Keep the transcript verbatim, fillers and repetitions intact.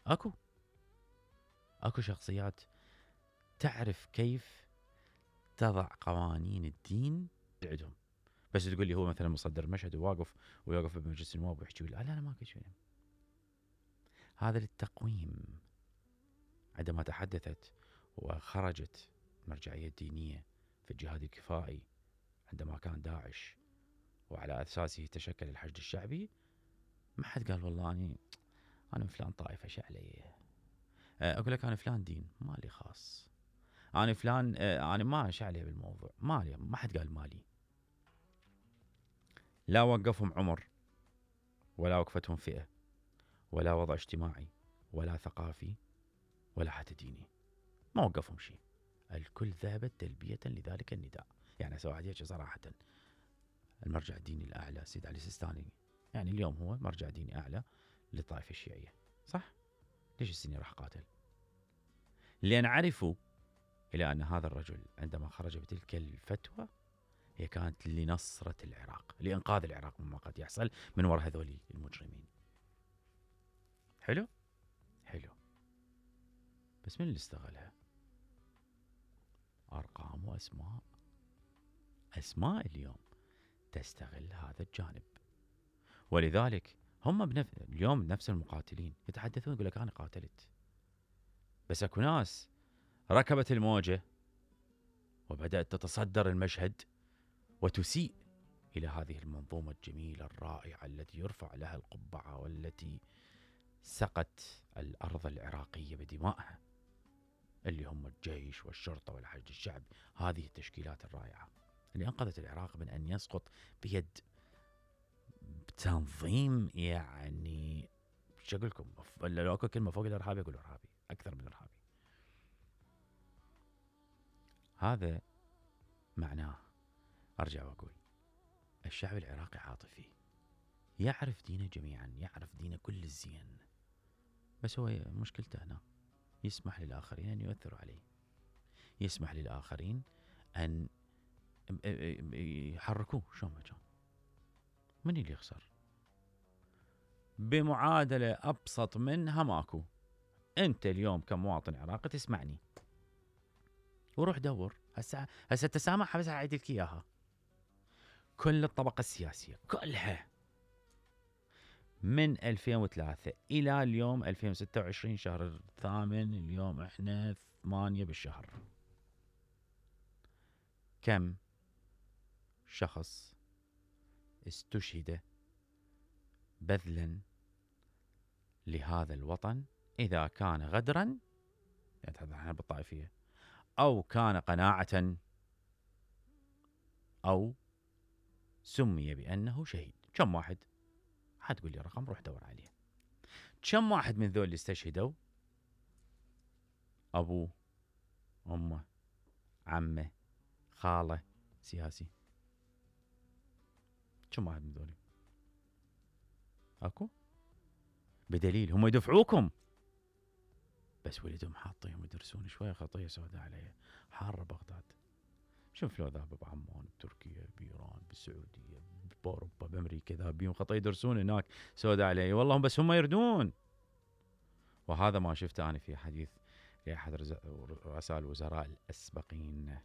اكو اكو شخصيات تعرف كيف تضع قوانين الدين عندهم. بس تقول لي هو مثلا مصدر مشهد وواقف ويوقف بمجلس النواب ويحكي لا لا لا ما شيء. هذا للتقويم. عندما تحدثت وخرجت المرجعية الدينية في الجهاد الكفائي عندما كان داعش وعلى أساسه تشكل الحشد الشعبي، ما حد قال والله أنا أنا من فلان طائفة شو علي. أقول لك أنا فلان دين مالي خاص، أنا فلان أنا ما شو علي بالموضوع مالي، ما حد قال مالي. لا وقفهم عمر ولا وقفتهم فئة ولا وضع اجتماعي ولا ثقافي ولا حتى ديني، ما وقفهم شيء. الكل ذهبت تلبية لذلك النداء. يعني أسوي واحد يحكي صراحة، المرجع الديني الأعلى سيد علي السيستاني يعني اليوم هو مرجع ديني أعلى للطائفة الشيعية، صح؟ ليش السني راح قاتل؟ لأن عرفوا إلى أن هذا الرجل عندما خرج بتلك الفتوى هي كانت لنصرة العراق، لإنقاذ العراق مما قد يحصل من وراء هذول المجرمين. حلو؟ حلو. بس من اللي استغلها؟ أرقام وأسماء. أسماء اليوم تستغل هذا الجانب، ولذلك هم بنف... اليوم نفس المقاتلين يتحدثون يقول لك أنا قاتلت. بس أكو ناس ركبت الموجة وبدأت تتصدر المشهد وتسيء إلى هذه المنظومة الجميلة الرائعة التي يرفع لها القبعة والتي سقت الأرض العراقية بدمائها، اللي هم الجيش والشرطة والحشد الشعبي. هذه التشكيلات الرائعة اللي أنقذت العراق من أن يسقط بيد تنظيم، يعني شو أقول لكم، لو أكو كلمة فوق الإرهابي أقول إرهابي أكثر من إرهابي. هذا معناه أرجع وأقول الشعب العراقي عاطفي، يعرف دينه جميعا، يعرف دينه كل الزين، بس هو مشكلته هنا يسمح للآخرين أن يؤثروا عليه، يسمح للآخرين أن يحركوه شو ما كان. من اللي يخسر؟ بمعادلة أبسط منها ماكو. أنت اليوم كمواطن عراقي تسمعني وروح دور هسه هسه تسامح، بس أعيد لك إياها. كل الطبقة السياسية كلها من ألفين وثلاثة إلى اليوم ألفين وستة وعشرين شهر الثامن، اليوم إحنا ثمانية بالشهر، كم شخص استشهد بذلا لهذا الوطن، إذا كان غدرا يعني احنا بالطائفية، أو كان قناعة، أو سمي بأنه شهيد. كم واحد؟ حتقول لي رقم روح دور عليه. كم واحد من ذول اللي استشهدوا أبوه أمه عمه خاله سياسي؟ كم واحد من ذولي؟ أكو؟ بدليل هم يدفعوكم، بس ولدهم حاطيهم يدرسون شوية خطية سوداء عليه. حارة بغداد، شوف لو ذهب بعمان بتركيا بإيران بالسعودية بأوروبا بأمريكا ذهبين خطية يدرسون هناك سوداء عليه والله، بس هم يردون. وهذا ما شفته أنا في حديث لأحد رؤساء الوزراء الأسبقين